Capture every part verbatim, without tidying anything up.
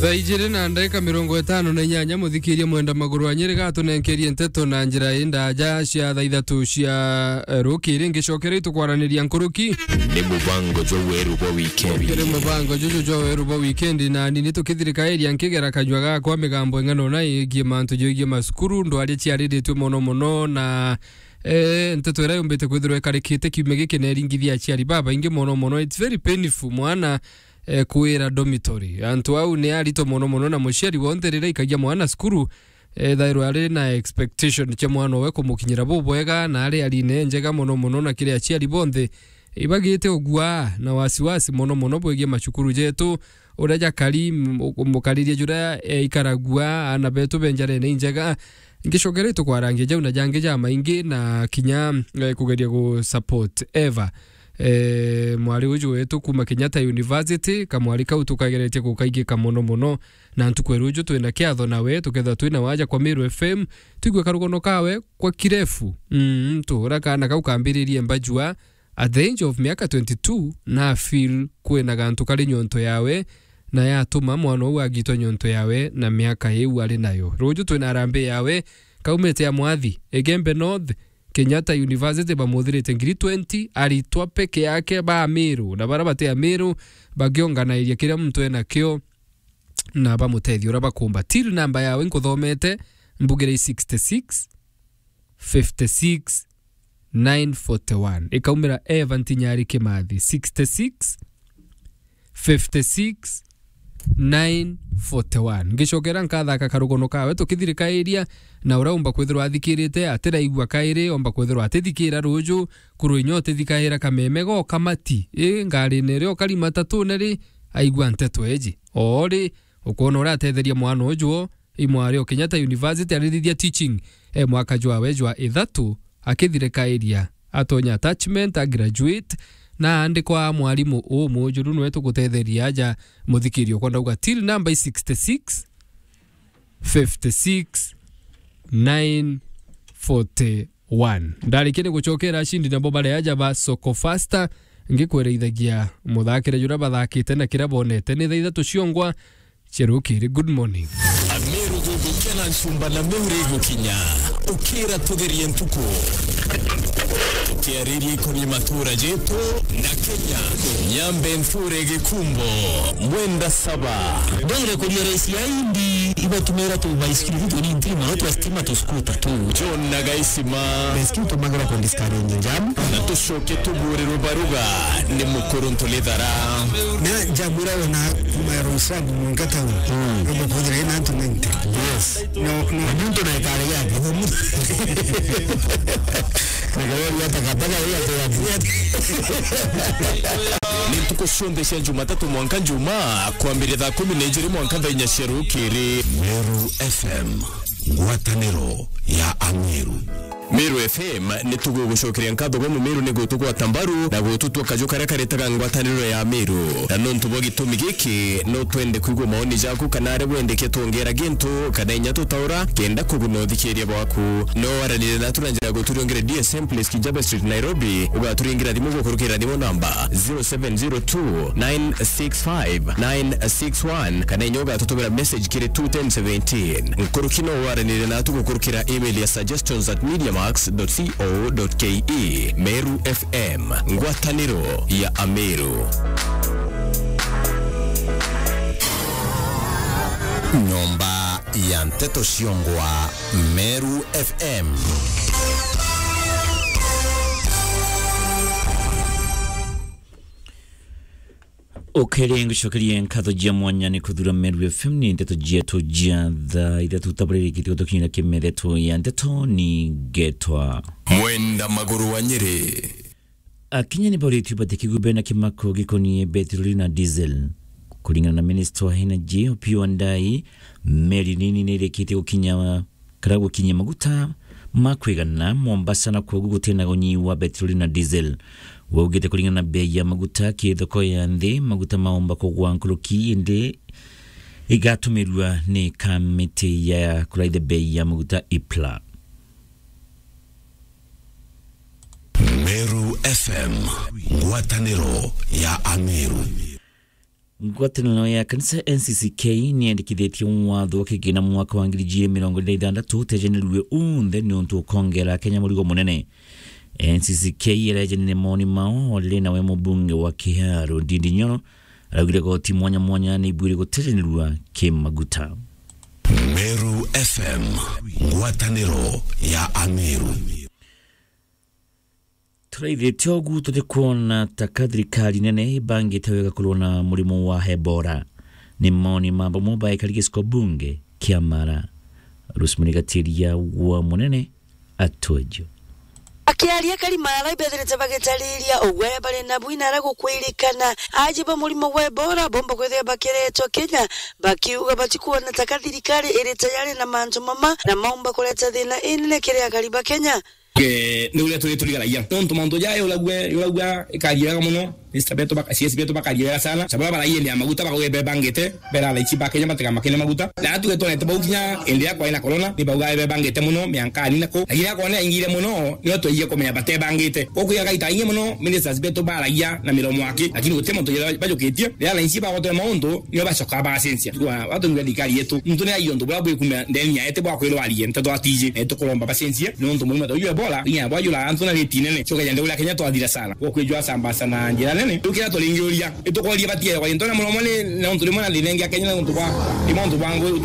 Thaa ijiri na ndagika mirongo itano na inyanya, muthikiria mwenda maguru wa Nyeri gatunenkerie nteto na njira indaja cia thaa ithatu cia, eh, rukiri. Ngicokera itukwaraniria nkuruki. Ni mubango jwa weru bwa wikendi. Kiri mubango juju jwa weru bwa wikendi, na ni nitukithirikairia nkigera kanyua gakwa migambo ing'ana una igie mantu joigie masukuru, ndwari ciariritue mono mono, na, eh, nteto iria yumbite kwithirwa ikarikite kiumia giki neringithia aciari babaingi mono mono. It's very painful mwana, eh, kwira dormitory. Antu au ni arito mono mono, na muciari wonthe riria ikagia mwana cukuru, ethairwa ari na expectation cia mwana owe kumukinyira bubwega, na ari arine njega mono mono, na kiri aciari bonthe ibagite ugua na wasiwasi mono mono bwigie macukuru jetu, uria jakari, m-, mukaririe juria, eh, ikaragua, ana betu be njarene injega. Ngicokera itukwarangia jau na jangi jamaingi, na kinya, eh, kugeria gu support Eva, eh, mwari uju wetu kuma Kenyatta University, kamwari kau tukageretie gukaigika mono mono. Na ntuku ya ruju twina kiatho nawe, tukethirwa twina waja kwa Meru F M, twigue karugono kawe kwa kirefu. Mm, tuura kaana kau kambiririe mbajua at the age of miaka twenty-two, na feel kwina gantu kari nyonto yawe, na yatuma mwana uu agitwa nyonto yawe na miaka iu ari nayo. Ruju twina harambee yawe, kaumite ya mwathi, Igembe North, Kenyatta University bamuthirite ngiri twenty, aritwa peke yake ba Meru, na bara bati a Meru, bakionganairia kiria muntu enakio, na bamutethia uria bakumba. Till number yawe nkuthomete, mbugire i sixty-six, fifty-six, nine forty-one. Ikaumira Eva Ntinyari Kimathi, sixty-six, fifty-six, nine forty-one. Ngicokera nkathaka karugono kawe tukithirikairia, na uria umba kwithirwa athikirite, atiraigua kairi, omba kwithirwa atithikira ruju, kuru inya utithikaira kameme go kamati, i, ngarine ri, okari matatune ri, aigua nteto eji. Oori, ukwona uria atetheria mwana uju o, i mwari o Kenyatta University, arithithia teaching, e mwaka jwawe jwa ithatu, akithirikairia, atonya attachment, a graduate, na andikwa mwarimu umujuru nwe tugutetheria aja muthikirio kwa ndauga till number sixty-six, fifty-six, nine forty-one. Ndarikia ni gucokera acindi nabo bari aja ba Soko Faster, ngikwira ithagia muthakire juria bathakite na kiria bonete ni thaa ithatu ciongwa cia rukiri. Good morning. Ameru gugukia na ncumba na meuri gukinya. Ukira tugerie ntuku. Tukiariria ikonie matura jetu na Kenya. Nyambe nthure gikumbo. Mwenda saba. Ndongire kuria raisi ya indi ibatumira tu baisikiri tu ni ntima no twa stima tu skuta tu. John na Gaisima. Baisikiri tumagira ku discourage jam. Na tucoke tuburirwe baruga ni mukuru Ntulithara. Na njamwira wona kuma Roysambu mwanka town. Mm. Robo kuthira ina antu ninety. Yes. No, no. Na muntu na ikare yake. Na gari ya takataka ya takataka. Ni ntuku cionthe cia Jumatatu mwanka Njumaa, kwambiria thaa kumi na ijiri mwanka thaa inya cia rukiri. Meru F M, ngwataniro ya Ameru. Meru F M ni tugugucokeria nkatho bwa Mumeru ni gutugwata mbaru na gututua kaju karia karetaga ngwataniro ya Meru. Na nontu bwa gitumi giki, no twende kwigua maoni jaku kana aria wendeke twongera gintu kana inya tutaura kenda kuguna uthikiria bwaku. No waranire natu na njira ya guturiongera D S M Place, Kijaba Street, Nairobi. Ugaturingira thimu gukurukira thimu namba zero seven zero two nine six five nine six one, kana inya ugatutumira message kiri two ten seventeen. Nkuruki no waranire natu gukurukira email ya suggestions at mediamax dot co dot ke. Meru F M, ngwataniro ya Ameru. Nyomba ya nteto ciongwa, Meru F M. Ukiri ngucokerie nkatho jia mwanya ni kuthura Meru F M ni nteto jietu jia thaa ithatu tabaririkitie gutukinyira kimethetho ya nteto ni ngetwa Mwenda Maguru wa Nyeri. Akenya ni bauritue batikigwe bena kimako gikonie betiroli na diesel. Kuringana na minista wa energy, Opiyo Wandayi, meri nini ni irikitie gukinya kana gukinyia maguta ma kwigana Mombasa, na kwogu gutina unyi wa betiroli na diesel. We augite kuringana na bei ya maguta ki thoko ya nthi, maguta maumba kugwa nkuruki, indi igatumirua ni kamiti ya kuraithia bei ya maguta, IPLA. Meru F M, ngwataniro ya Ameru. Ngwataniro ya kanisa N C C K niyendekithitie watho wa kigina mwaka wa ngiri igiri mirongo iri na ithanthatu utejanirue unthe niuntu ukongera Kenya murigo munene. N C C K irejanire moni mao o riri nawe mubunge wa Kiharu Ndindi Nyoro araugire goti mwanya mwanya ni ibwire gutejanirua kimaguta. Meru F M, ngwataniro ya Ameru. Turaithitie ugu tutikwona ta ka thirikari nene ibangite wega kurwa na murimu wa Ebola. Ni moni ma bamwe baikari giciko bunge kia Mara. Rosemary Gatiria wa Munene atwejo. Akiaria kari Mara ibethirite bagitariria ugwe bari na bwina ara gukwirikana aji ba murimu wa Ebola bomba kwithia bakiretwa Kenya, bakiuga batikuona ta ka thirikari iri tayari na mantu mama na maumba kureta thina inene kiri akari ba Kenya. Eh, ni uria turi turigaragia. Nontu mantu jaya uragua, uragua ikaria wega muno. Mister betu baka-, C S betu bakaria wega sana. Sababu bara iende ya maguta bakauga ibebangite, bera thaa ici ba Kenya batega makene maguta. Na atuge twonete bau kinya indi ya kwaina corona, ni bauga ibebangite muno, miankani nako. Lakini akona ingire muno, nio twaiye kumenya batebangite. Kokuya gaita ingi muno, ministers betu baragia na miromo aki. Lakini guti muntu jira bajukitie. Rira thaa ici bagotwe mauntu, nio bacoka bacenjia. Kwa watu ngwa thirikari yetu. Muntu ni aiyo ntu bwa bwikuma ndeni ya ete bwa kwirwa arie, nteto atiji. Na tukuromba bacenjie, nontu murimo ta uyu Ebola, inya bwa jura antu na riti nene. Coka jande uria Kenya twathira sana. Gwa kwijwa sambasa na njira nene. Tukira turingiuria, itukoria batie kwa into na muromo ni, na untu rimwe na thina ingi ya Kenya na untu bwa, ni mauntu bwa ngui.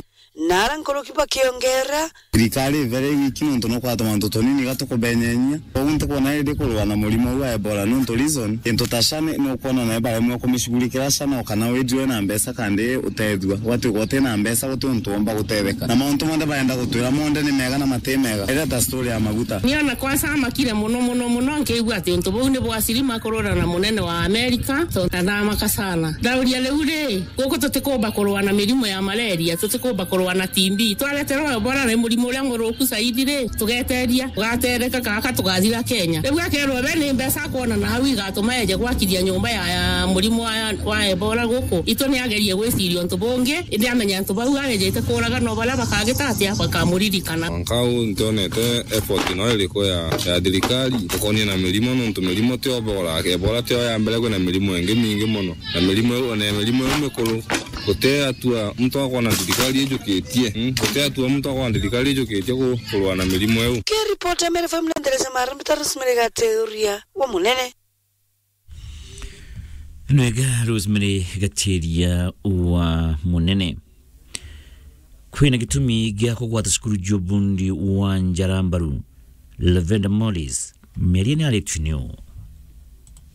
Na ara nkuruki bakiongera. Thirikari ivere igiki nontu no kwatuma antu tunini gatukubenyenya. Koguo ntikwona indi kurwa na murimo uu wa Ebola nontu reason, into ta sha ni, ni ukwona nae baremwe kumishughulikira sha no kana wijwe na mbeca kandi utethua. Gwatuika uti na mbeca guti untu womba gutetheka. Na mauntu monthe barenda gutwira monthe ni mega na mati mega. Ira ta story ya maguta. Niona kwanza amakire muno, muno, muno, nkiigua ati untu buu ni bwa sirima kurura na munene wa Amerika, so ndathamaka sana. Ndauria riu ri, guku tutikumba kurwa na mirimu ya malaria, tutikumba kurwa na T B. Twareterwa Ebola ni murimu uria muruku zaidi ri, tugeteria, ugatereka kaka tugathira Kenya. Riu akerwa we ni mbeca akwona na hau igatuma eje gwakithia nyumba ya, ya murimu wa, wa Ebola guku. Itu ni agerie gwiciria untu bungi, indi amenya antu bau agejete kuuraga no baria bakagita atia bakamuririkana. Mwanka uu ntionete effort no iriku ya, ya thirikari tukonie na mirimu, nontu mirimu ti Ebola. Ebola tio ya mbere, kwina mirimu ingi mingi muno. Na mirimu iu, ona mirimu iu mikuru, guti atua muntu akwona thirikari ijukitie. Mm, guti atua muntu akwona thirikari ijukitie ku-, kurwa na mirimu iu. Kiripoti ya Meru F M na Nderesa Mara, mbita Rosemary Gatiria wa Munene. Nwega Rosemary Gatiria wa Munene. Kwina gitumi gia kugwata cukuru jwa ubundi wa Njarambaru, Lavender Morris, miario ni aritwi niu.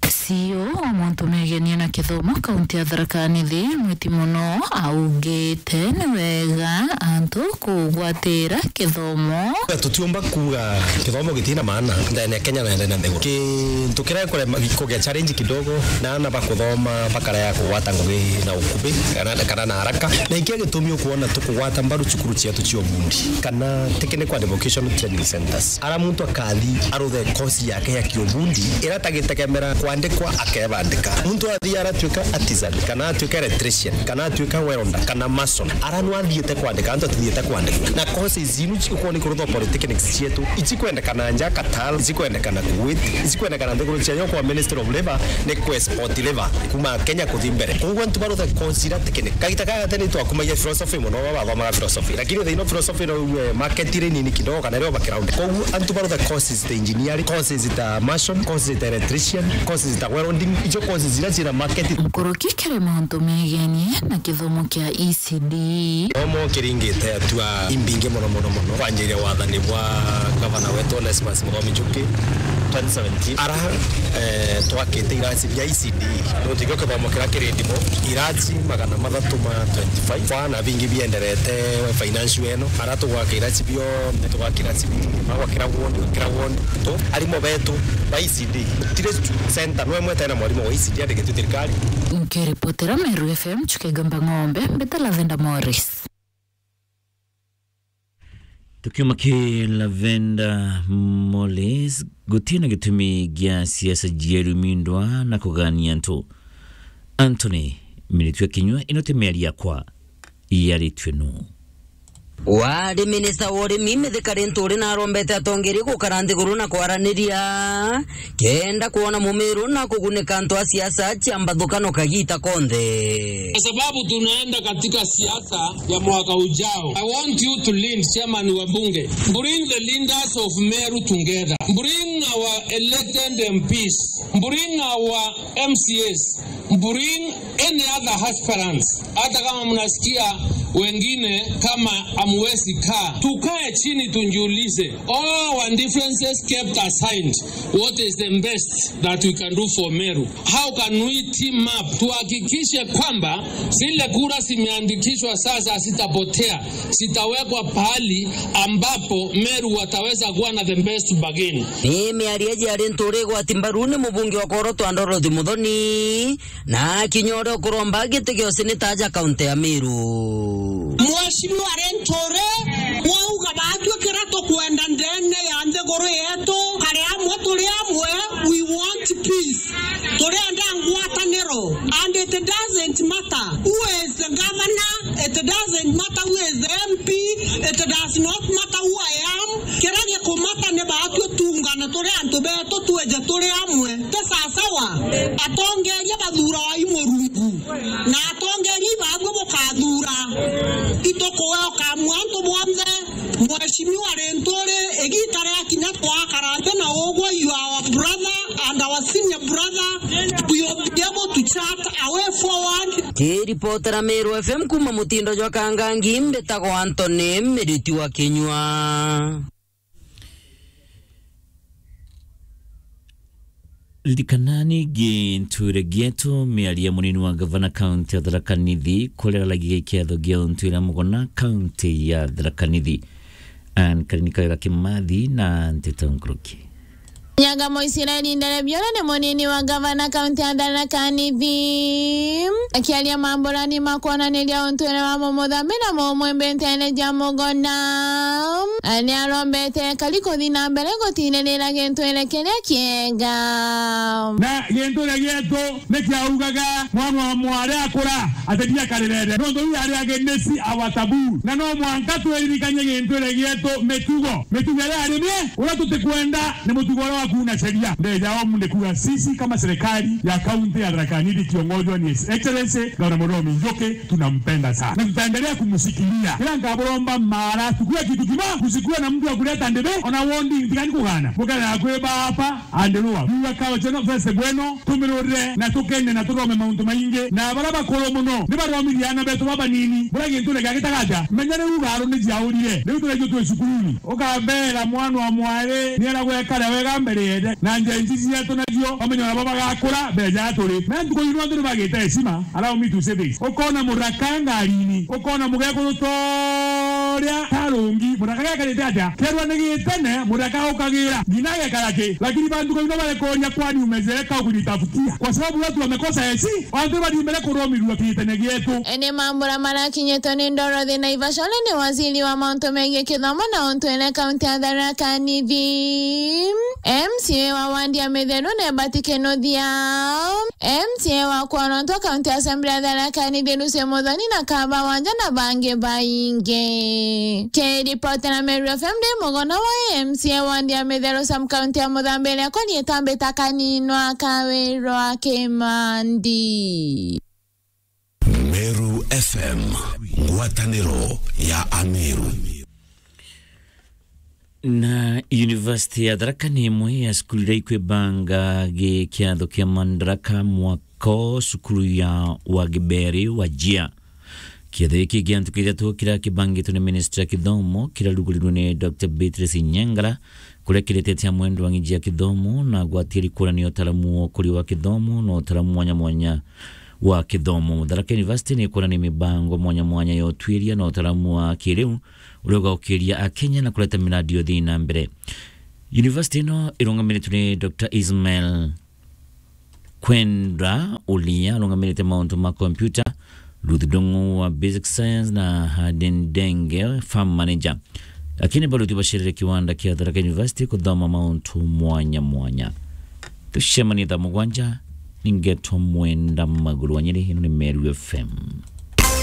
C E O wa mauntu megenie na kithomo kaunti ya Tharaka Nithi, Mweti Muno, augite ni wega antu kugwatira kithomo. Tutiumba kuuga kithomo gitina maana ndene ya Kenya na ndene ya nthiguru. Kintu kiria kurema kugia challenge kidogo na ana bakuthoma bakarega kugwata ngugi na ukubi kana, kana na haraka. Na ikio gitumi ukuona tukugwata mbaru cukuru cietu cia ubundi kana technical and vocational training centers. Ara muntu akathi aruthe course yake ya kiubundi, ira tagitegemera kwandikwa akebandika. Muntu athi aratuika artisan, kana atuika electrician, kana atuika welder, kana mason. Ara nu athiite kwandika, antu atithiite kwandika. Na courses inu ci-, ukwona ikurutwa polytechnics cietu, ici kwendekana nja Qatar, ici kwendekana Kuwait, ici kwendekana nthiguru cia nja kwa Ministry of Labour, ni ku export labour kuma Kenya kuthi mbere. Koguo antu baruthe course ira technical. Kagita kaya tene twakumagia philosophy muno, baba bathomaga philosophy. Lakini the ino philosophy no uwe market iri nini kidogo, kana rio background. Koguo antu barutha courses ta engineering, courses ta mason, courses ta electrician, courses ta welding, icio courses iria ciina market. Nkuruki kiri mauntu megenie na kithomo kia E C D. Kithomo kiringite atua imbingi muno, muno, muno. Kwanjiria wathani bwa gavana wetu Onesmus Muthomi Njuki, twenty seventeen. Ara, eh, twakite irasi bia E C D. Nontu ikio kithomo kiria kiri ndimo, irasi magana mathatu ma twenty-five. Kwa na bingi bienderete financial eno. Ara tugwaka irasi bionthe, tugwaka irasi bibiri, magwa kira ward, kira ward. Tu, arimo betu ba E C D. Tire center, no imwe tena mwarimu wa E C D andikitwe thirikari. Nkiripotera Meru F M, Chuka Igamba Ng'ombe, mbita Lavender Morris. Tukiuma ki Lavender Morris, gutina gitumi gia siasa jieru mindwa na kugania antu. Anthony Miritwe Kinyua, ino ti miario yakwa, yaritwe nu. Wari minista wa urimi Mithika Linturi narombete atongeria gukara nthiguru na kwaraniria kenda kwona Mumiru na kugunika antu a siasa cia mbathukanio kagiita konthe. Kwa sababu tunaenda katika siasa ya mwaka ujao, I want you to lead, chairman wa bunge, bring the leaders of Meru together, bring our elected M Ps, bring our M C As, bring any other aspirants, hata kama mnasikia wengine kama hamwezi kaa, tukae chini tujiulize, all our differences kept aside, what is the best that we can do for Meru? How can we team up tuhakikishe kwamba zile kura zimeandikishwa sasa zitapotea, zitawekwa pahali ambapo Meru wataweza kuwa na the best bargain? Ni miario iji ya Linturi igwati mbaru ni mubunge wa Korotwa Dorothy Muthoni, na kinya uria ukuromba giti gia useneta aja kaunti ya Meru. Mheshimiwa Linturi, wauga baatwi kira tukwenda ndene ya nthiguru yetu, kari amwe turi amwe, we want peace. Turenda ngwataniro, and it doesn't matter who is the governor, it doesn't matter who is the M P, it does not matter who I am. Kira gikumata ni baatwi tungane turi antu betu, twije turi amwe. Ti sasawa atongeria bathuuragwa i Murungu, na atongeria ibaabua bukathuura. Itukuwe ukamua antu bonthe. Mheshimiwa Linturi, igiita riakinya twakara nthi na ugwe, you are our brother and our senior brother, we will be able to chart a way forward. Kiripotera Meru F M kuuma mutindo jwa Kangangi, mbitagwa Anthony Miriti wa Kinyua. Ririkanani gintuire gietu, miario ya munini wa gavana kaunti ya Tharaka Nithi, kuria araragia giketho gia untuire mugona kaunti ya Tharaka Nithi. Ann Karini Kawira Kimathi na Nteto Nkuruki. Nyagamo Israeli Nderebiora ni munini wa gavana kaunti ya Tharaka Nithi. Akiaria mamburani ma kwonaniria untuire wa mumuthambi na mumwimbi nteene ja mugona, ni arombete ekari kuthi na mbere gutinirira gintuire kiria kiega. Na gintuire gietu ni kiaugaga mwana wa mwari akura, ati ndiakarirere. Nontu iu yari against our taboo. Na no mwanka twiririkanie gintuire gietu mitugo. Mitugo iria yari mie, uria tutikwenda ni mutugo uria wa kuuna sheria. Ndeja omu ni kuuga sisi kama serikali ya kaunti ya Tharaka Nithi ikiongozwa ni His Excellency Gavana Muthomi Njuki, tunampenda sana. Na tutaendelea kumshikilia. Kila nkaburomba mara, tukue kitu kimoja, kusikuwe na mtu wa kuleta ndebe, ona wodi, ntigani kugana. Mukana kwi baba, andirua. Biwa kao cheno feste bueno, tumirurire, na tukene, na turome mauntu maingi. Na bara bakuru muno, ni baromithia ana betu babanini. Bura gintu rega gitagaja. Menya ni ugaru ni jiaurire. Riu turejo twi cukuruni. Ukambera mwana wa mwari, ni aragwekara wega mbere yende. Na njenji cietu nacio, bamenye ona bo bagakura, beja turi. Na ntuku ino antu ni bagite heshima. Allow me to say this. Ukona muraka ngarini, ukona mugekuru toria tarungi, muraka gekarite atia? Kerwa ni gitene, muraka ukagira, ngina gekara ki? Lakini bantu kaino barekoria kwani umezeka au kujitafutia? Kwa sababu watu wamekosa heshima, antu bari mbere kuromirua kitene gietu. Ene mambura marakinyitwe ni Dorothy Naivasha, uria ni waziri wa mauntu megii kithomo na untu ene kaunti ya Tharaka Nithi. M C A wa wandi ya Mitheru ni Mbati Kinuthia. M C A wa Kwonontwa kaunti ya Assembly ya Tharaka Nithi Lucy Muthoni na Kaba Wanja na bangi baingi. Kiripotera Meru F M ndi mugona wa M C A wa wandi ya Mitheru sub kaunti ya Muthambiri akwa riitwa Mbita Kaninwa Kawirwa Kimandi. Meru F M, ngwataniro ya Ameru. Na University ya Tharaka ni imwe ya cukuru iria ikwibanga gikiatho kia Madaraka mwaka o cukuru ya Wagiberi wa Jia. Kiatho giki gia ntuku ithatu kiria kibangitwe ni Ministry ya Kithomo kirarugurirwe ni Doctor Beatrice Nyangara, kuria kiretete amwe ndwang'i ya kithomo na gwatiria kuonania utaramu wa ukuri wa kithomo na utaramu mwanya mwanya wa kithomo. Tharaka University ni kuonania mibango mwanya mwanya ya utuiria na utaramu wa kiriu uria ugaukiria Akenya na kureta miradi ya uthii na mbere. University ino irungamiritwe ni Doctor Ismail Kwendra uria arungamirite mauntu ma kompyuta, Ruth Ndung'u wa Basic Science na Hadin Denge, Farm Manager. Lakini bado tubacerere kiwanda kia Tharaka University kuthoma mauntu mwanya mwanya. Tucemanie thaa mugwanja, ningetwa Mwenda Maguru wa Nyeri, ino ni Meru F M.